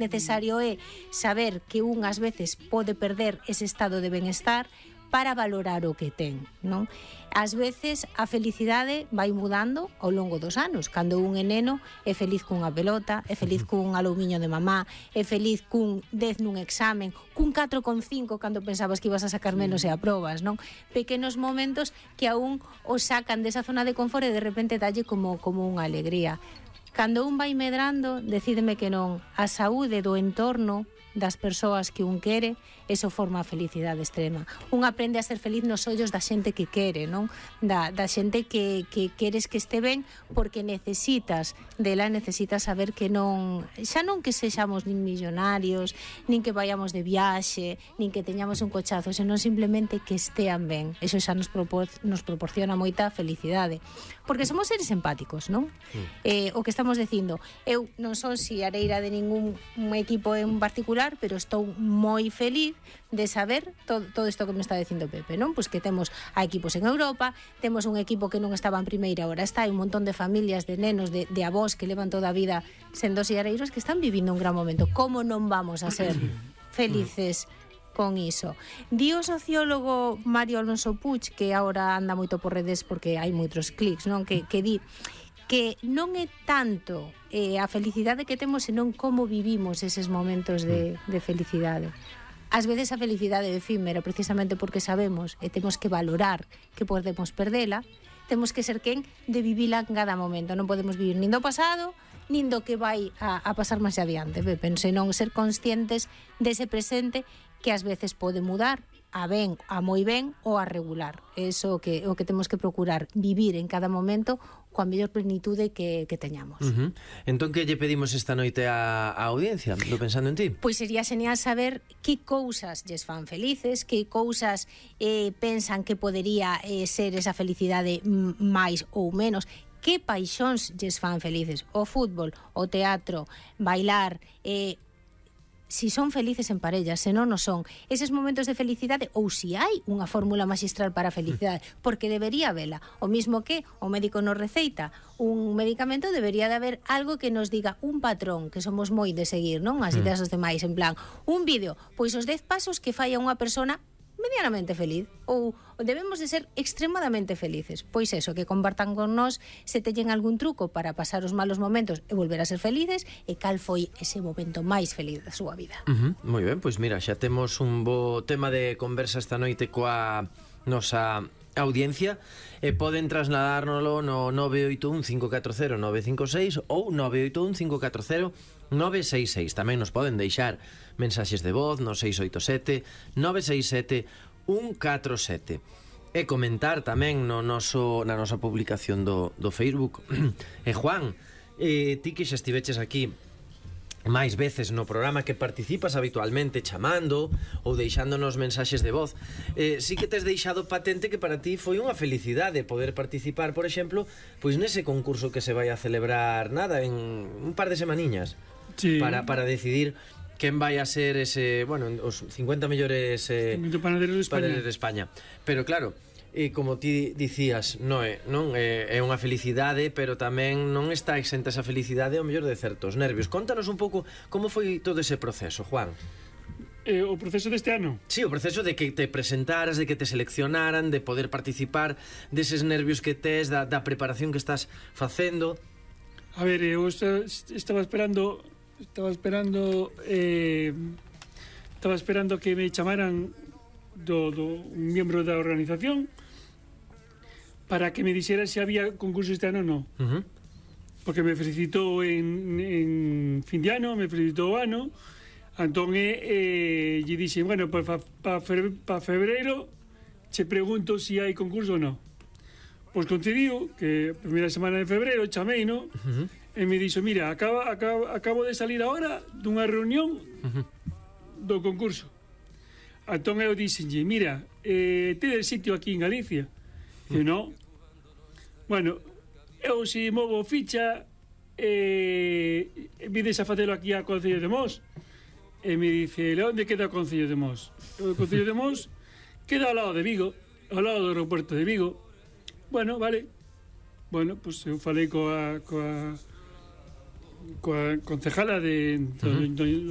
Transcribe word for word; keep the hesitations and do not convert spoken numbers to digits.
Necesario é saber que un ás veces pode perder ese estado de benestar para valorar o que ten, non? Ás veces a felicidade vai mudando ao longo dos anos. Cando un é neno é feliz cunha pelota, é feliz cun alumiño de mamá, é feliz cun dez nun examen, cun catro con cinco cando pensabas que ibas a sacar menos e aprobas, non? Pequenos momentos que aún os sacan desa zona de confort e de repente dalle como, como unha alegría. Cando un vai medrando, decídeme que non, a saúde do entorno das persoas que un quere, eso forma a felicidade extrema. Un aprende a ser feliz nos ollos da xente que quere, non? Da, da xente que, que queres que este ben porque necesitas dela, necesitas saber que non, xa non que sexamos nin millonarios, nin que vayamos de viaxe, nin que teñamos un cochazo, senón simplemente que estean ben. Eso xa nos, propor, nos proporciona moita felicidade. Porque somos seres empáticos, non? Mm. Eh, o que estamos dicindo, eu non son si areira de ningún equipo en particular, pero estou moi feliz de saber todo, todo isto que me está dicindo Pepe, non? Pois que temos a equipos en Europa, temos un equipo que non estaba en primeira, agora está, hai un montón de familias, de nenos, de, de avós que levan toda a vida sendo siareiros que están vivindo un gran momento. Como non vamos a ser felices con iso? Di o sociólogo Mario Alonso Puig, que agora anda moito por redes porque hai moitos clics, non? Que, que di que non é tanto eh, a felicidade que temos, senón como vivimos eses momentos de, de felicidade. Ás veces a felicidade é efímera, precisamente porque sabemos e temos que valorar que podemos perdela, temos que ser quen de vivila en cada momento. Non podemos vivir nin do pasado, nin do que vai a, a pasar máis adiante, senón ser conscientes dese presente que ás veces pode mudar a ben, a moi ben ou a regular. Eso que o que temos que procurar, vivir en cada momento coa mellor plenitude que, que teñamos. Uh-huh. Entón, que lle pedimos esta noite a, a audiencia, do Pensando en Ti? Pois sería genial saber que cousas lles fan felices, que cousas eh, pensan que podería eh, ser esa felicidade máis ou menos, que paixóns lles fan felices, o fútbol, o teatro, bailar, eh, si son felices en parella, se non o son, eses momentos de felicidade, ou si hai unha fórmula magistral para a felicidade, porque debería vela. O mismo que o médico nos receita un medicamento, debería de haber algo que nos diga un patrón, que somos moi de seguir, non? As ideas dos demais, en plan, un vídeo, pois os dez pasos que fai a unha persona medianamente feliz, ou debemos de ser extremadamente felices. Pois eso, que compartan con nós se teñen algún truco para pasar os malos momentos e volver a ser felices, e cal foi ese momento máis feliz da súa vida. Uh-huh. Moi ben, pois mira, xa temos un bo tema de conversa esta noite coa nosa audiencia, e poden trasladárnoslo no nove oito un cinco catro cero nove cinco seis ou nove oito un cinco catro cero nove seis seis. Tamén nos poden deixar mensaxes de voz no seis oito sete nove seis sete un catro sete e comentar tamén no noso, na nosa publicación do, do Facebook. E Juan, eh, ti que xa estiveches aquí máis veces no programa, que participas habitualmente chamando ou deixándonos mensaxes de voz, eh, sí que tes deixado patente que para ti foi unha felicidade poder participar, por exemplo, pois nese concurso que se vai a celebrar nada, en un par de semaniñas, sí, para, para decidir quen vai a ser ese, bueno, os cincuenta mellores eh, panaderos de España. de España. Pero claro, e como ti dicías, non é, non é, é unha felicidade, pero tamén non está exenta esa felicidade ao mellor de certos nervios. Contanos un pouco como foi todo ese proceso, Juan. Eh, o proceso deste ano? Sí, o proceso de que te presentaras, de que te seleccionaran, de poder participar, deses nervios que tes, da, da preparación que estás facendo. A ver, eu estaba esperando estaba esperando eh, estaba esperando que me chamaran do, do un miembro da organización para que me dixera se había concurso este ano ou non. Uh-huh. Porque me felicitou en, en fin de ano, me felicitou o ano, entón eh, lle dixe, bueno, para pa, pa febreiro che pregunto se si hai concurso ou non. Pois concediu que a primeira semana de febreiro chamei, no? Uh-huh. E me dixo, mira, acaba, acaba, acabo de salir agora dunha reunión uh-huh. do concurso. Entón eu dixenlle, mira, eh, tedes sitio aquí en Galicia? E non. Bueno, eu se movo ficha, eh, vides a facelo aquí a Concello de Mos? E me dice, onde queda o Concello de Mos? O Concello de Mos queda ao lado de Vigo, ao lado do aeroporto de Vigo. Bueno, vale. Bueno, pois pues eu falei coa coa coa concejala de, uh-huh. do, do, do